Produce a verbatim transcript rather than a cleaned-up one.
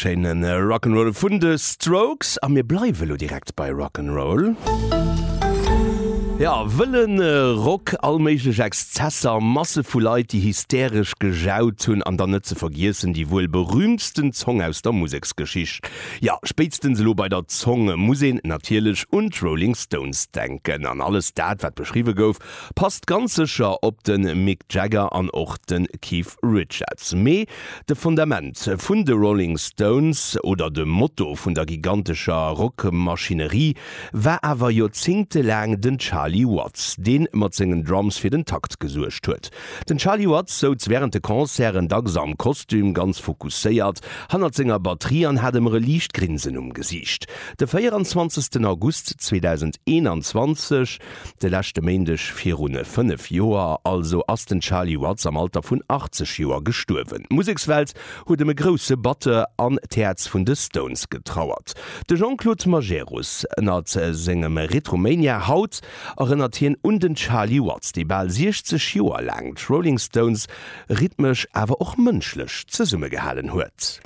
Schéine Rock'n'Roll vun de Strokes a mir bleiwe lo direkt bei Rock'n'Roll. Ja, wëlle Rock, all méiglech Exzesser, Masse vu Leit, déi hysteresch gejaut hunn an dann net ze vergiessen déi wuel berüümtsten Zong aus der Museksgeschicht. Ja, spéitstens elo bei der Zong muss een natierlech un d'Rolling Stones denken. An alles dat, wat beschriwwe gouf, passt ganz sécher op de Mick Jagger an och de Keith Richards. Mee de Fundament vun de Rolling Stones oder de Motto vun der gigantescher Rockmaschinerie war awer joerzéngtelaang den Charlie Watts, dee mat sengen Drums fir den Takt gesuergt huet. Den Charlie Watts souz wärend de Concerten dacks am Kostüm, ganz fokusséiert hannert senger Batterie an hat ëmmer e liicht Grinsen um Gesiicht. De véieranzwanzegsten August zweedausendeenanzwanzeg, de leschte Méindeg viru fënnef Joer also, ass den Charlie Watts am Alter vun achtzeg Joer gestuerwen. D'Musekswelt huet ëm e grousse Batteur an d'Häerz vun de Stones getrauert. De Jean-Claude Majerus ënnert sengem Retromania haut erënnert hien un den Charlie Watts, dee bal siechzeg Joer laang d'Rolling Stones rhythmesch awer och mënschlech zesummegehalen huet.